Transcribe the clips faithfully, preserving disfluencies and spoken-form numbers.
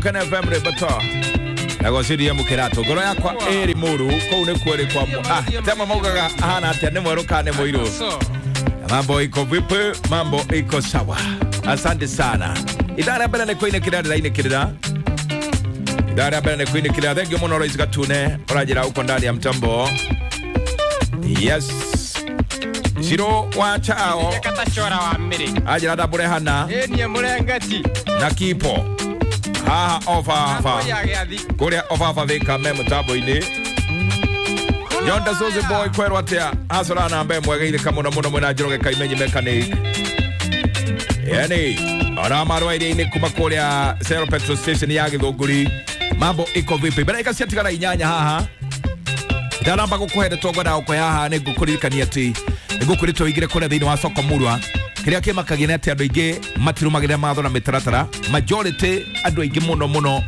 Kana F M Rebato Nagociria mukirato ngoro yakwa ĩrĩ mũru kũu nĩ kuo ĩrĩ kwa ah tema maugaga ahana atĩa nĩ mwerũ kana nĩ mũirũ. Mambo iko vipi? Mambo iko sawa. Asante sana. Idara ya mbere nĩ kũinĩkĩra ndĩrainĩkĩrĩra. Idara ya mbere nĩ kũinĩkĩrĩra. Thank you mũno Lois Gatune ũranjĩra uko ndani ya mtambo. Yes. Shiro wa chao. Katachora wa mmiri. Ajira ndabũrehana. Ĩ niĩ mũrengeti. Na kipo. Haha ofafa. Kũrĩa ofafa thika me mũtambo-inĩ. Yonda Zoze boy kwerwo atia acora na mbe mwega ithika muno muno mwena Njoroge Kaimenyi mechanic. Yani ona marwa iria-inĩ kuma kũrĩa Zero Petrol Station ya Githũngũri. Mambo iko vipi? Mbere ika ciatigara inyanya haha. Ndaramba gũkũhe ndeto ngwendaga gũkũhe haha nĩ ngũkũririkania atĩ nĩ ngũkwĩrĩte ũingĩre kũrĩa thĩinĩ wa soko murwa. Kĩrĩa kĩmakagia nĩ atĩ andũ aingĩ matirũmagĩrĩra mawatho na mĩtaratara. Majority andũ aingĩ mũno mũno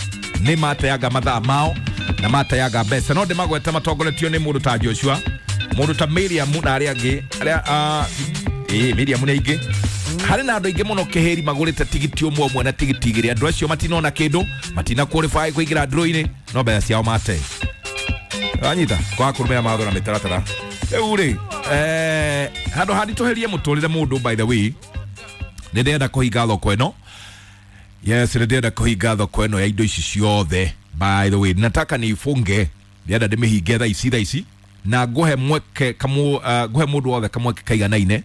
nĩ mateaga mathaa mao na mateaga mbeca. No ndĩmagwete matongoretio nĩ mũndũ ta Joshua, mũndũ ta Miriam na arĩa angĩ arĩa ĩĩ Miriam nĩ aingĩ. Harĩ na andũ aingĩ mũno kĩhĩri magũrĩte tigiti ũmwe ũmwe na tigiti igĩrĩ. Andũ acio matinona kĩndũ, matina qualify kũingĩra draw-inĩ, no mbeca ciao mate. Anyita kwa kũrũmĩrĩra mawatho na mĩtaratara. Rĩu rĩ, eh handũ handitũhĩrie mũtũrĩre mũndũ by the way, nĩ ndĩrenda kũhinga thoko ĩno. Yes, nĩ ndĩrenda kũhinga thoko ĩno ya indo ici ciothe. By the way, nataka niifunge, ndĩrenda ndĩmĩhinge thaa ici thaa ici na ngũhe mweke kamũ uh, ngũhe mũndũ wothe kamweke kaiganaine.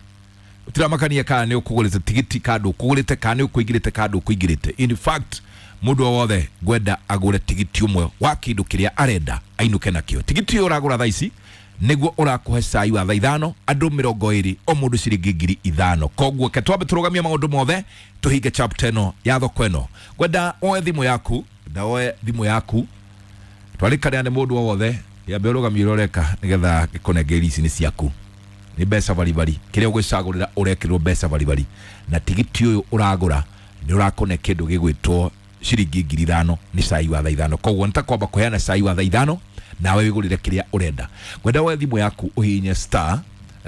Tiramakania kana nĩ ũkũgũrĩte tigiti kana ndũkũgũrĩte kana nĩ ũkũingĩrĩte kana ndũkũingĩrĩte. In fact, mũndũ wothe ngwenda agũre tigiti ũmwe wa kĩndũ kĩrĩa arenda ainũke nakĩo. Tigiti ũyũ ũragũra thaa ici nĩguo ũrakũhe cai wa thaa ithano andũ mĩrongo ĩrĩ o mũndũ ciringi ngiri ithano. Koguo ke twambe tũrũgamie maũndũ mothe tũhinge chapter ĩno ya thoko ĩno. Ngwenda woe thimũ yaku, ngwenda woe thimũ yaku twarĩkanĩra nĩ mũndũ o wothe yambe ũrũgamie ũrĩa ũreka nĩgetha gĩkũnengere ici nĩ ciaku. Nĩ mbeca baribari kĩrĩa ũgwĩcagũrĩra ũrekĩrwo mbeca baribari na tigiti ũyũ ũragũra nĩ ũrakũne kĩndũ gĩgwĩtwo ciringi ngiri ithano nĩ cai wa thaa ithano. Koguo nĩtakwamba kũheana cai wa thaa ithano nawe wĩgũrĩre kĩrĩa ũrenda. Ngwenda woe thimũ yaku ũhihinye star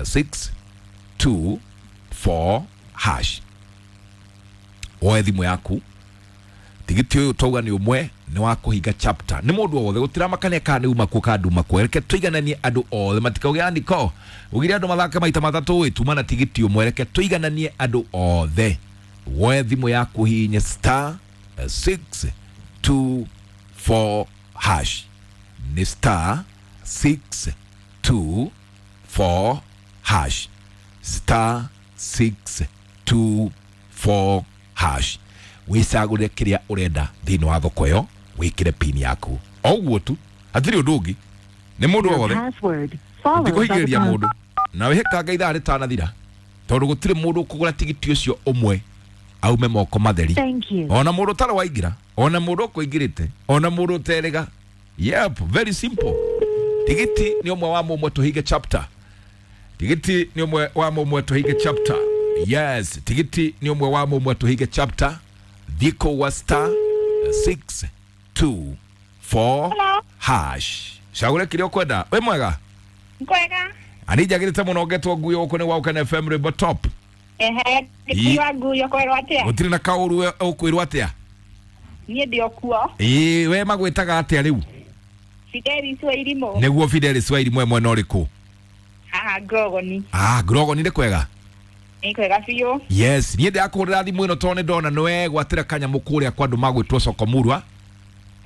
six two four hash. Woe thimũ yaku tigiti ũyũ twauga nĩ ũmwe nĩ wa kũhinga chapter. Nĩ mũndũ o wothe gũtiramakania kana nĩ uma kuo kana nduma kuo. Reke tũigananie andũ othe matikauge andĩko ugire andũ mathake maita matatũ ĩ tuma na tigiti ũmwe. Reke tũigananie andũ othe. Woe thimũ yaku ũhihinye star six two four hash. Ni star six two four hash. Star six two four hash. Wĩcagũre kĩrĩa ũrenda thĩinĩ wa thoko ĩyo wĩkĩre pin yaku. O ũguo tu hatirĩ ũndũ ũngĩ. Nĩ mũndũ o wothe ndikũhingĩrĩria mũndũ na wĩhĩkanga ithaa rĩtanathira tondũ gũtirĩ mũndũ ũkũgũra tigiti ũcio ũmwe aume moko matheri. Ona mũndũ ũtarĩ waingĩra, ona mũndũ ũkũingĩrĩte, ona mũndũ ũterĩga. Yep, very simple. Tigiti nĩ ũmwe wa mũmwe tũhinge chapter. Tigiti nĩ ũmwe wa mũmwe tũhinge chapter. Yes, tigiti nĩ ũmwe wa mũmwe tũhinge chapter. Thiko wa star six two four hash. Cagũre kĩrĩa ũkwenda. Wĩ mwega? Kwega. Ani njagĩrĩte mũno ngetwo nguyo gũkũ nĩ wa Ũkene F M Rwĩmbo Top. Ehe, ndikuwa nguyo kwerwo atĩa? Gũtirĩ na kaũru ũkwĩrwo atĩa? Niĩ ndĩ o kuo. Ĩĩ, we magwĩtaga atĩa rĩu? Fidelis wa Irimũ. Nĩguo Fidelis wa Irimũ mwena ũrĩkũ? Haha Grogoni. Ah, Grogoni nĩ kwega? Nĩ kwega biũ. Yes, niĩ ndĩrakũhũrĩra thimũ ĩno tondũ nĩ ndona nĩwe gwatĩra kanyamũ kũrĩa kwa andũ magwĩtwo soko murwa.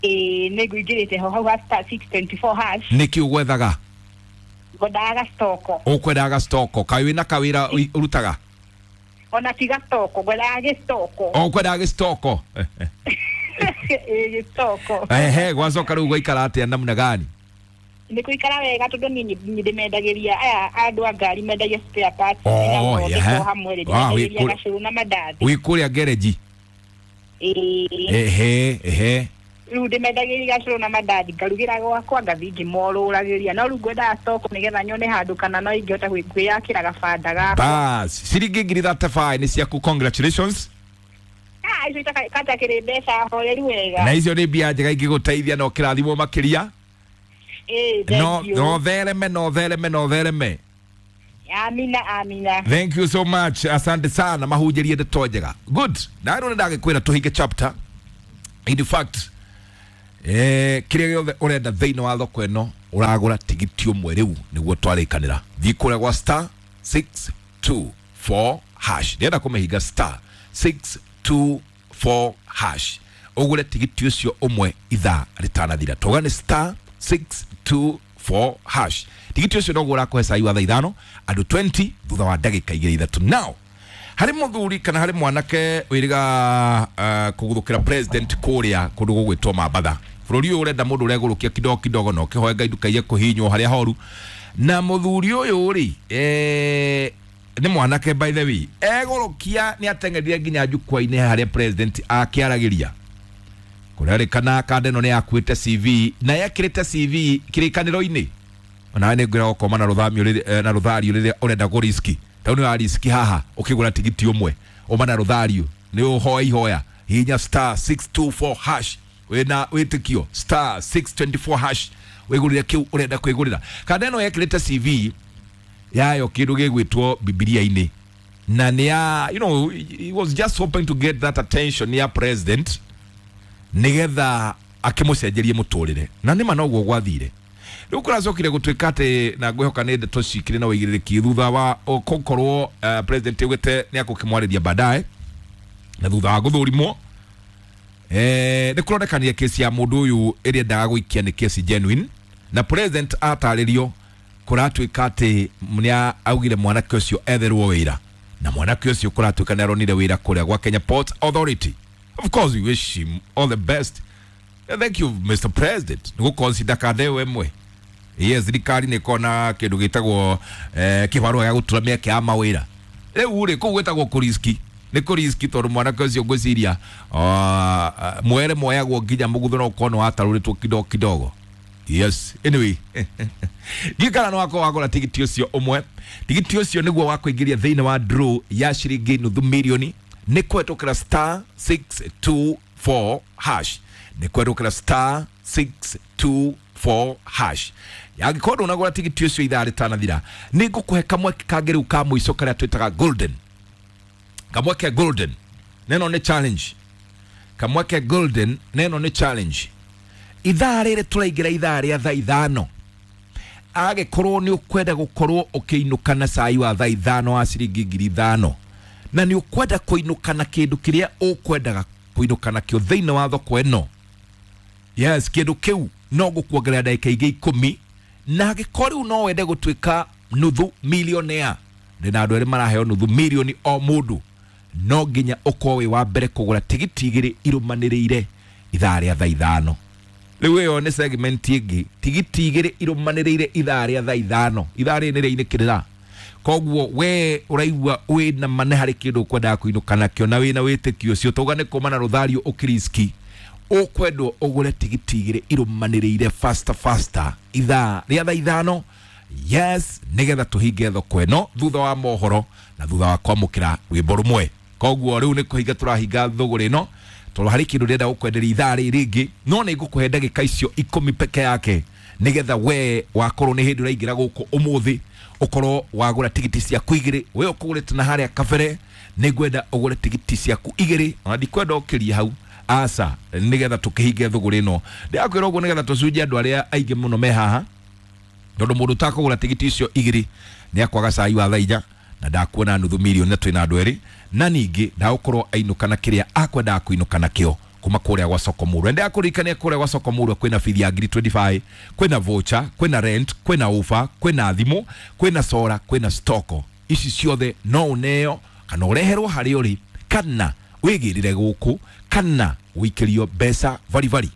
Ĩĩ, nĩ ngũingĩrĩte ho hau ha star six twenty four hash. Nĩkĩ ũgwethaga? Ngwendaga gacitoko. Ũkwendaga gacitoko. Kaĩ wĩna kawĩra ũrutaga? Ona ti gacitoko, ngwendaga gĩcitoko. Ũkwendaga gĩcitoko? Ĩĩ, gĩcitoko. Ehe, gwacoka rĩu gwaikara atĩa namna gani? Nĩ kũikara wega tondũ niĩ nĩ ndĩmendagĩria aya andũ a ngari mendagia spare parts. Oh, yeah. Hamwe rĩ, ndĩmendagĩria gacũrũ na mandathi. Wĩ kũrĩa gereji? Ĩĩ. Ehe, ehe. Rĩu ndĩmendagĩria gacũrũ na mandathi ngarugĩra gwakwa ngathiĩ ngĩmorũragĩria. No rĩu ngwendaga stoko nĩgetha nyone handũ kana no ingĩhota kwĩyakĩra gabanda gakwa. Bas, ciringi ngiri thirty five nĩ ciaku, congratulations. Ah, icio itatakĩrĩ mbeca horeru wega. Na icio nĩ mbia njega ingĩgũteithia na ũkĩrathimwo makĩria. Ĩĩ, no no thereme, no thereme, no thereme. Amina, amina. Thank you so much. Asante sana mahunjĩrie ndeto njega. Good. Na rĩu nĩ ndagĩkwĩra tũhinge chapter. In fact, eh kĩrĩa gĩothe ũrenda thĩinĩ wa thoko ĩno ũragũra tigiti ũmwe rĩu nĩguo twarĩkanĩra. Thiĩ kũrĩa gwa star six two four hash, ndĩrenda kũmĩhinga star six two four hash ũgũre tigiti ũcio ũmwe ithaa rĩtanathira. Tauga nĩ star six two four hash. Tigiti ũcio noguo ũrakũhe cai wa thaa ithano andũ twenty thutha wa ndagĩka igĩrĩ ithatũ. Now harĩ mũthuri kana harĩ mwanake wĩrĩga uh, kũguthũkĩra president kũrĩa kũndũ gũgwĩtwo Mambatha. Bũrũri ũyũ ũrenda mũndũ ũregũrũkia kidogo kidogo na ũkĩhoe Ngai ndũkaiye kũhihinywo harĩa horu. Na mũthuri ũyũ rĩ, eh, nĩ mwanake by the way, egũrũkia nĩ ateng'erire nginya jukwaa-inĩ harĩa president akĩaragĩria. Kũrerĩkana kanda ĩno nĩ yakuĩte C V na yekĩrĩte C V kĩrĩkanĩro-inĩ. Onawe nĩ ngwĩra gũkoma na rũthamio rĩrĩa, na rũthario rĩrĩa ũrenda kũriski. Tau nĩ wariski haha ũkĩgũra tigiti ũmwe ũma na rũthario nĩ ũhoe ihoya hihinya star six two four hash wĩna wĩtĩkio star six twenty four hash wĩgũrĩre kĩu ũrenda kwĩgũrĩra. Kanda ĩno yekĩrĩte C V yayo kĩndũ gĩgwĩtwo Bibilia-inĩ na nĩ ya, you know, he was just hoping to get that attention ya president nĩgetha akĩmũcenjerie mũtũrĩre, na nĩma noguo gwathire. Rĩu kũracokire gũtuĩka atĩ, na ngwĩhoka nĩ ndeto cikĩrĩ na ũigĩrĩrĩki thutha wa gũkorwo uh, president augĩte nĩ akũkĩmwarĩria baadaye na thutha wa gũthũrimwo, eh, nĩ kũronekanire kesi ya mũndũ ũyũ ĩrĩa endaga gũikia nĩ kesi genuine, na president atarĩrio kũratuĩka atĩ nĩ augire mwanake ũcio etherwo wĩra, na mwanake ũcio kũratuĩka nĩ aronire wĩra kũrĩa gwa Kenya Ports Authority. Of course we wish him all the best. Thank you Mister President nĩ gũconsider kanda ĩyo ĩmwe. Yes, thirikari nĩ ĩkoragwo kĩndũ gĩtagwo eh, kĩbarũa gĩa gũtura mĩeke ya mawĩra. Rĩu rĩ, kũu gwĩtagwo kũriski. Nĩ kũriski tondũ mwanake ũcio ngwĩciria uh, mwere moyagwo nginya mũgutho no ũkorwo nĩ watarũrĩtwo kidogo kidogo. Yes, anyway. Ndikana no wako wagũra tigiti ũcio ũmwe. Tigiti ũcio nĩguo wa kũingĩria thĩinĩ wa draw ya ciringi nuthu mirioni nĩ kũhetũkĩra star six two four hash. Nĩ kũhetũkĩra star six two four hash. Angĩkorwo ndũnagũra tigiti ũcio ithaa rĩtanathira, nĩ ngũkũhe kamweke kangĩ rĩu ka mũico karĩa twĩtaga golden. Kamweke golden neno nĩ challenge. Kamweke golden neno nĩ challenge. Ithaa rĩrĩ tũraingĩra ithaa rĩa thaa ithano, angĩkorwo nĩ ũkwenda gũkorwo ũkĩinũka na cai wa thaa ithano wa ciringi ngiri ithano, na nĩ ũkwenda kũinũka na kĩndũ kĩrĩa ũkwendaga kũinũka nakĩo thĩinĩ wa thoko ĩno, yes, kĩndũ kĩu no gũkuongerera ndagĩka ingĩ ikũmi, na angĩkorwo rĩu no wende gũtuĩka nuthu millionaire, ndĩna andũ erĩ maraheo nuthu milioni o mũndũ, no nginya ũkorwo wĩ wa mbere kũgũra tigiti igĩrĩ irũmanĩrĩire ithaa rĩa thaa ithano. Rĩu ĩyo nĩ segment ĩngĩ, tigiti igĩrĩ irũmanĩrĩire ithaa rĩa thaa ithano. Ithaa rĩrĩ nĩ rĩinĩkĩrĩra. Koguo we ũraigua wĩna ma nĩ harĩ kĩndũ ũkwendaga kũinũka nakĩo na wĩna wĩtĩkio ũcio, tauga nĩ kũma na rũthario ũkĩriski, ũkwendwo ũgũre tigiti igĩrĩ irũmanĩrĩire faster faster ithaa rĩa thaa ithano, yes, nĩgetha tũhinge thoko ĩno thutha wa mohoro na thutha wa kwamũkĩra rwĩmbo rũmwe. Koguo rĩu nĩ kũhinga tũrahinga thũgũrĩ ĩno tondũ harĩ kĩndũ ndĩrenda gũkwenderia ithaa rĩrĩ rĩngĩ, no nĩ ngũkũhe ndagĩka icio ikũmi peke yake nĩgetha we wakorwo nĩ hĩndĩ ũraingĩra gũkũ ũmũthĩ ũkorwo wagũra tigiti ciaku igĩrĩ. We ũkũgũrĩte na harĩa kabere, nĩ ngwenda ũgũre tigiti ciaku igĩrĩ, ona ndikwenda ũkĩrie hau aca, nĩgetha tũkĩhinge thũgũrĩ ĩno. Ndĩrakwĩra ũguo nĩgetha tũcunje andũ arĩa aingĩ mũno me haha, tondũ mũndũ ũtakũgũra tigiti icio igĩrĩ nĩ akwaga cai wa thaa inya na ndakuona nuthu milioni na twĩna andũ erĩ, na ningĩ ndagũkorwo ainũka na kĩrĩa akwendaga kũinũka nakĩo kuma kũrĩa gwa Soko Murwa. Ndĩrakũririkania kũrĩa gwa Soko Murwa kwĩna bithi ya ngiri twenty five, kwĩna voucher, kwĩna rent, kwĩna offer, kwĩna thimũ, kwĩna sora, kwĩna stoko. Ici ciothe no ũneo kana ũreherwo harĩa ũrĩ, kana wĩgĩrĩre gũkũ, kana wĩikĩrio mbeca baribari.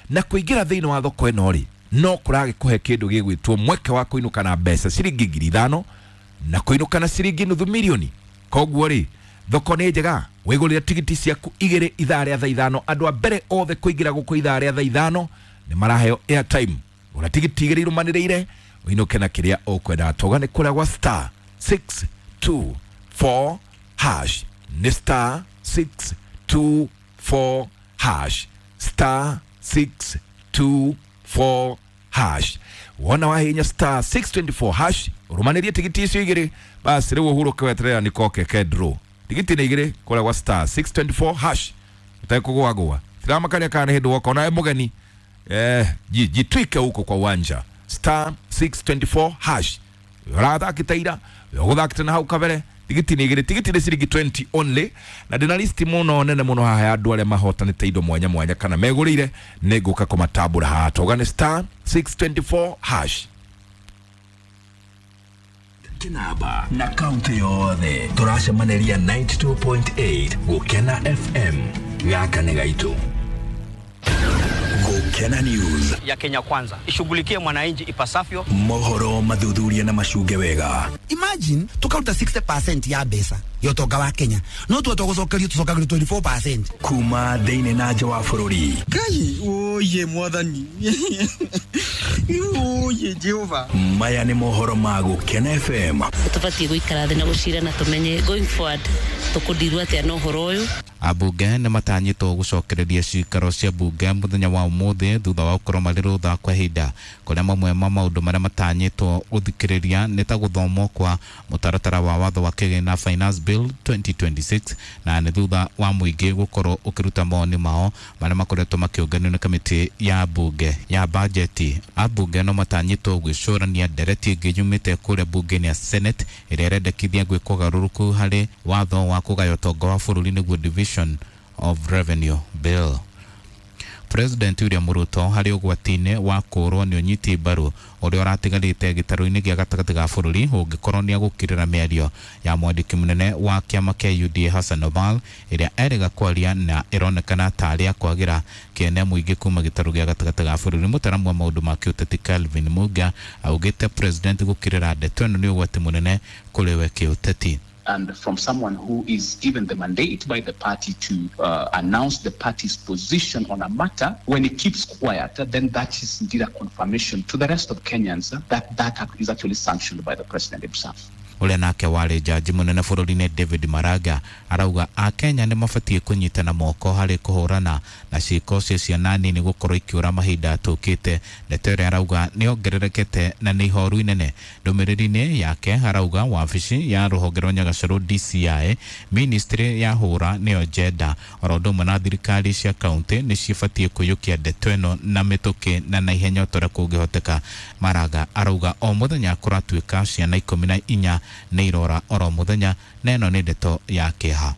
Na kũingĩra thĩinĩ wa thoko ĩno rĩ, no kũragĩkũhe kĩndũ gĩgwĩtwo mweke wa kũinũka na mbeca ciringi ngiri ithano na kũinũka na ciringi nuthu milioni. Koguo rĩ, thoko nĩ njega, wĩgũrĩre tigiti ciaku igĩrĩ ithaa rĩa thaa ithano. Andũ a mbere othe kũingĩra gũkũ ithaa rĩa thaa ithano nĩ maraheo airtime. Gũra tigiti igĩrĩ irũmanĩrĩire ũinũke na kĩrĩa ũkwendaga. Tauga nĩ kũrĩa gwa star six two four hash. Nĩ star six two four hash. Star six two four hash. Wona wahinya star six twenty four hash ũrũmanĩrie tigiti icio igĩrĩ, basi rĩu ũhurũke weterera nĩ koke ke draw. Tigiti nĩ igĩrĩ kũrĩa gwa star six twenty four hash. Ũtekũgũagũa. Gitiramakaria kana nĩ hĩndĩ woka ona mũgeni eh jitwike huko kwa uwanja star six two four hash ũrathakĩte ira ũgũthakĩte na hau kabere tigiti nĩ igĩrĩ tigiti nĩ ciringi twenty only na ndĩna listi mũno nene mũno haha ya andũ arĩa mahotanĩte indo mwanya mwanya kana megũrĩire nĩ ngũka kũmatambũra haha tauga nĩ star six two four hash. Kinaba na kaunti yothe tũracemanĩria ninety two point eight Gũkena F M gaka nĩ gaitũ. Gũkena News ya Kenya Kwanza ishughulikie mwananchi ipasavyo. Mohoro mathuthuria na macunge wega. Imagine tukaruta sixty percent ya mbeca ya ũtonga wa Kenya no tuote gũcokerio tũcokagĩrio twenty four percent kuma thĩinĩ na nja wa bũrũri. Ngai oye mwathani oye Jehova. Maya nĩ mohoro ma Gũkena F M. Tũbatiĩ gũikara thĩ na gũcira na tũmenye going forward tũkũndirwo atĩa na ũhoro ũyũ. Ambunge nĩ matanyĩtwo gũcokereria cikaro cia bunge mũthenya wa ũmũthĩ thutha wa gũkorwo marĩ rũtha kwa ihinda kũrĩa mamwe ma maũndũ marĩa matanyĩtwo gũthikĩrĩria nĩ ta gũthomwo kwa mũtaratara wa watho wa kĩgĩna Finance Bill twenty twenty six na nĩ thutha wa mũingĩ gũkorwo ũkĩruta mawoni mao marĩa makoretwo makĩũnganio nĩ kamĩtĩ ya bunge ya bajeti. Ambunge no matanyĩtwo gwĩcũrania ndereti ĩngĩ yumĩte kũrĩa bunge-inĩ ya Senate ĩrĩa ĩrendekithia gwĩkwo ũgarũrũku harĩ watho wa kũgaya ũtonga wa bũrũri nĩguo Division of Revenue Bill. President William Ruto harĩ ũgwati-inĩ wa kũũrwo nĩ ũnyiti mbaru ũrĩa ũratigarĩte gĩtarũ-inĩ gĩa gatagatĩ ga bũrũri ũngĩkorwo nĩ agũkirĩra mĩario ya mwandĩki mũnene wa kĩama kĩa U D A Hassan Omar ĩrĩa erĩga kwaria na ĩronekana tarĩ akwagĩra kĩene mũingĩ kuma gĩtarũ gĩa gatagatĩ ga bũrũri. Mũtaramu wa maũndũ ma kĩũteti Calvin Muga augĩte president gũkirĩra ndeto ĩno nĩ ũgwati mũnene kũrĩ we kĩũteti. And from someone who is given the mandate by the party to uh, announce the party's position on a matter, when he keeps quiet, then that is indeed a confirmation to the rest of Kenyans that that is actually sanctioned by the president himself. Ũrĩa nake warĩ jaji mũnene bũrũri-inĩ David Maraga arauga akenya nĩ mabatiĩ kũnyitana moko harĩ kũhũrana na ciĩko cia ciana nini gũkorwo ikĩũra mahinda tũkĩte. Ndeto ĩrĩa arauga nĩ yongererekete na nĩ ihoru inene. Ndũmĩrĩri-inĩ yake arauga wabici ya rũhonge rwa Nyagacerũ D C I, ministry ya hũra nĩyo jenda oro ũndũ ũmwe na thirikari cia kaunti nĩ cibatiĩ kũiyũkia ndeto ĩno na mĩtũkĩ na naihenya o ta ũrĩa kũngĩhoteka. Maraga arauga o mũthenya kũratuĩka ciana ikũmi na inya nĩ irora oro mũthenya na ĩno nĩ ndeto ya kĩeha.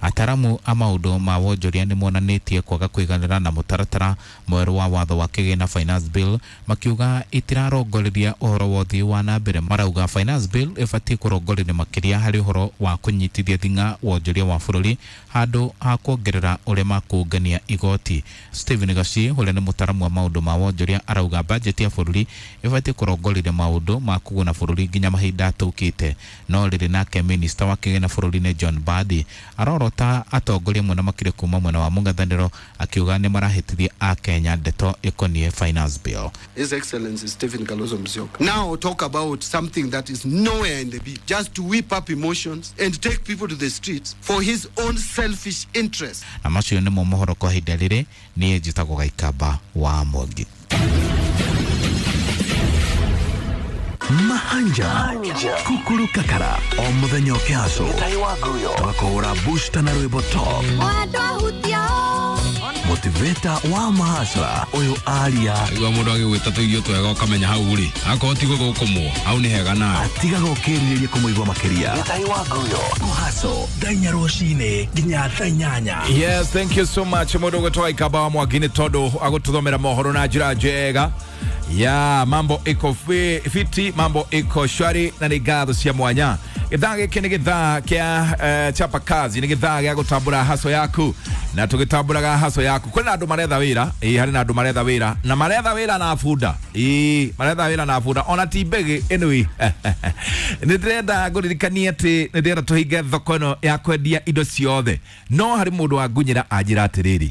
Ataramu a maũndũ ma wonjoria nĩ monanĩtie kwaga kũiganĩra na mũtaratara mwerũ wa watho wa kĩgĩna Finance Bill makiuga itirarongoreria ũhoro wa ũthii wa na mbere. Marauga Finance Bill ĩbatiĩ kũrongoreria makĩria harĩ ũhoro wa kũnyitithia thing'a wonjoria wa bũrũri handũ ha kuongerera ũrĩa makũngania igoti. Stephen Gaci ũrĩa nĩ mũtaramu wa maũndũ ma wonjoria arauga bajeti ya bũrũri ĩbatiĩ kũrongoreria maũndũ ma kũguna bũrũri nginya mahinda tũkĩte. No rĩrĩ nake minista wa kĩgĩna bũrũri-inĩ John Mbadi arorota atongoria mwena makire kuma mwena wa mũng'ethanĩro akiuga nĩ marahĩtithia akenya ndeto ĩkoniĩ Finance Bill. His Excellency Stephen Kalonzo Musyoka now talk about something that is nowhere in the bill, just to whip up emotions and take people to the streets for his own selfish interest. Na macio nĩmo mohoro kwa ihinda rĩrĩ. Niĩ njĩtagwo Gaikamba wa Mwangi. Mahanja kukuru kakara o muthenya ũkĩhacwo tũgakũhũra booster na rwĩmbo top motivator wa mahasra ũyũ aria igua mũndũ agĩgwĩta tũirio twega ũkamenya hau rĩ akorwo ti gũthũkũmwo hau nĩ hega nawe atigaga ũkĩrirĩria kũmũigua makĩria mũhaco thaa inya rũcinĩ nginya thaa inyanya. Yes, thank you so much mũndũ ũgwĩtwo Gaikamba wa Mwangi nĩ tondũ agũtũthomera mohoro na njĩra njega. Ya mambo iko fiti, mambo iko shwari na nĩ ngatho cia mwanya. Gĩthaa gĩkĩ nĩ gĩthaa kĩa uh, chapa kazi, nĩ gĩthaa gĩa gũtambũra haso yaku na tũgĩtambũraga haso yaku kwĩna andũ maretha wĩra, ĩĩ harĩ na andũ maretha wĩra na maretha wĩra na bunda, ĩĩ maretha wĩra na bunda ona ti mbegi anyway. Nĩ ndĩrenda ngũririkanie atĩ nĩ ndĩrenda tũhinge thoko ĩno ya kwendia indo ciothe no harĩ mũndũ wangunyĩra anjĩra atĩrĩrĩ,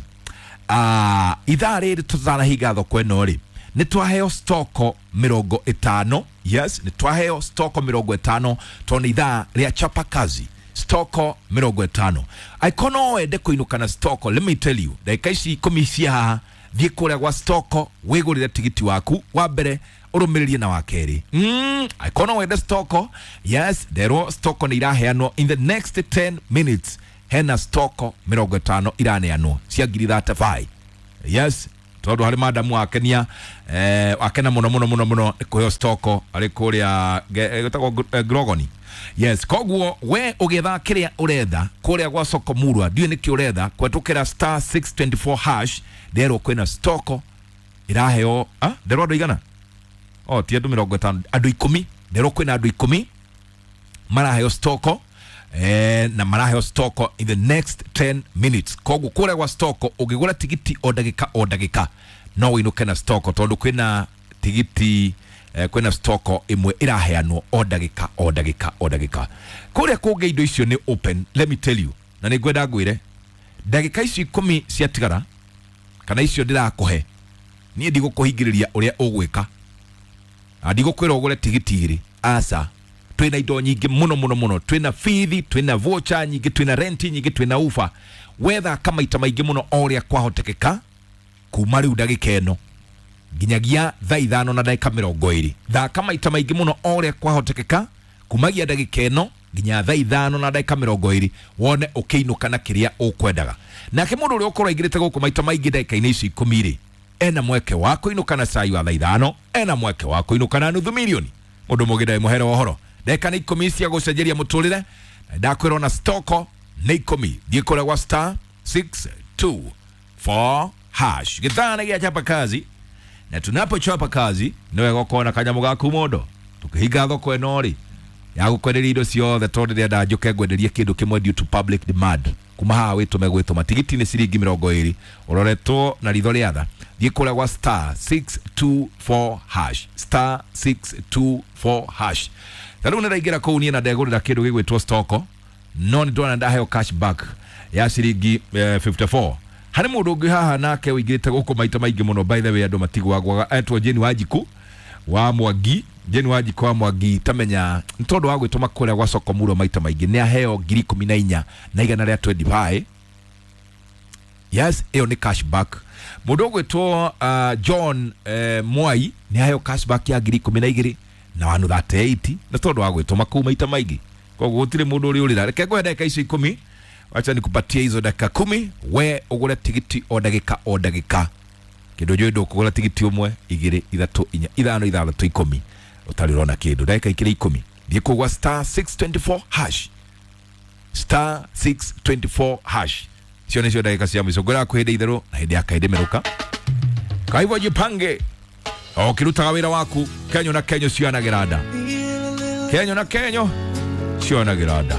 ah ithaa rĩrĩ tũtanahinga thoko ĩno rĩ nĩ twaheo stoko mĩrongo ĩtano. Yes, nĩ twaheo stoko mĩrongo ĩtano tondũ nĩ ithaa rĩa chapa kazi stoko mĩrongo ĩtano. Angĩkorwo no wende kũinũka na stoko, let me tell you, ndagĩka ici ikũmi cia haha thiĩ kũrĩa gwa stoko wĩgũrĩre tigiti waku wa mbere ũrũmĩrĩrie na wa kerĩ. Mm, angĩkorwo no wende stoko, yes, nderwo stoko nĩ iraheanwo in the next ten minutes. Hena stoko mĩrongo ĩtano iraneanwo cia ngiri thirty-five. Yes, tondu harĩ madamu wakenia eh, wakena mũno mũno mũno mũno nĩ kũheo stoko arĩ kũrĩa gĩtagwo Grogoni. Yes, koguo we ũgĩetha kĩrĩa ũretha kũrĩa gwa soko murwa ndiũĩ nĩkĩ ũretha kwetukĩra star six twenty-four hash nderwo kwĩna stoko iraheo ah nderwo andũ igana oh ti andũ mĩrongo ĩtano andũ ikũmi nderwo kwĩna andũ ikũmi maraheo stoko eh, na maraheo stoko in the next ten minutes. Koguo kũrĩa gwa stoko ũngĩgũra tigiti o ndagĩka o ndagĩka no wĩinũke na stoko tondũ kwĩna tigiti eh, kwĩna stoko ĩmwe ĩraheanwo o ndagĩka o ndagĩka o ndagĩka. Kũrĩa kũngĩ indo icio nĩ open, let me tell you, na nĩ ngwenda ngwĩre ndagĩka icio ikũmi ciatigara kana icio ndĩrakũhe niĩ ndigũkũhingĩrĩria ũrĩa ũgwĩka na ndigũkwĩra ũgũre tigiti igĩrĩ aca. Twina indo nyingĩ mũno mũno mũno, twina bithi, twina voucher nyingĩ, twina renti nyingĩ, twina ufa. Wethaka maita maingĩ mũno o ũrĩa kwahotekeka kuma rĩu ndagĩka ĩno nginyagia thaa ithano na ndagĩka mĩrongo ĩrĩ. Thaka maita maingĩ mũno o ũrĩa kwahotekeka kumagia ndagĩka ĩno nginya thaa ithano na ndagĩka mĩrongo ĩrĩ wone ũkĩinũka na kĩrĩa ũkwendaga. Nake mũndũ ũrĩa ũkorwo aingĩrĩte gũkũ maita maingĩ ndagĩka-inĩ ici ikũmi rĩ ena mweke wa kũinũka na cai wa thaa ithano, ena mweke wa kũinũka na nuthu milioni. Mũndũ mũgĩ ndarĩ mũhere wa ũhoro. Ndagĩka nĩ ikũmi cia gũcenjeria mũtũrĩre na ndakwĩrwo na stoko nĩ ikũmi. Thiĩ kũrĩa gwa star six two four hash. Gĩthaa nĩ gĩa chapa kazi, na tunapochapa kazi nĩ wega ũkorwo na kanyamũ gaku mũndũ tũkĩhinga thoko ĩno rĩ ya gũkwenderia indo ciothe tondũ ndĩrenda njũke ngwenderie kĩndũ kĩmwe due to public demand. Kuma haha wĩtũme gwĩtũma tigiti nĩ ciringi mĩrongo ĩrĩ ũroretwo na ritho rĩa tha. Thiĩ kũrĩa gwa star six two four hash, star six two four hash. Ta rĩu nĩndaingĩra kũu niĩ na ndegũrĩra kĩndũ gĩgwĩtwo stoko no nĩ ndona ndaheo cashback ya ciringi eh, fifty-four. Harĩ mũndũ ũngĩ haha nake ũingĩrĩte gũkũ maita maingĩ mũno, by the way andũ matigwagwaga, etwo Jane Wanjiku wa Mwangi. Jane Wanjiku wa Mwangi tamenya nĩ tondũ wa gwĩtũma kũrĩa gwa soko murwa maita maingĩ nĩ aheo ngiri ikũmi na inya na igana rĩa twenty-five. Yes, ĩyo nĩ cashback. Mũndũ ũgwĩtwo uh, John eh, Mwai nĩ aheo cashback ya ngiri ikũmi na igĩrĩ na one thirty-eight na tondũ wa gwĩtũma kũu maita maingĩ. Koguo gũtirĩ mũndũ ũrĩ ũrĩra. Reke ngũhe ndagĩka icio ikũmi, wacha nikupatie hizo dakika kumi we ũgũre tigiti o ndagĩka o ndagĩka. Kĩndũ njũĩ ndũkũgũra tigiti ũmwe igĩrĩ ithatũ inya ithano ithathatũ ikũmi ũtarĩ ũrona kĩndũ. Ndagĩka ikĩrĩ ikũmi thiĩ kũu gwa star six twenty-four hash, star six twenty-four hash. Icio nĩcio ndagĩka cia mũico. Ngwĩraga kwĩ hĩndĩ itherũ na hĩndĩ ya kaĩndĩ mĩrũka. Kwa hivyo jipange ũkĩrutaga wĩra waku. Kenyo na kenyo cionagĩra nda, kenyo na kenyo cionagĩra nda.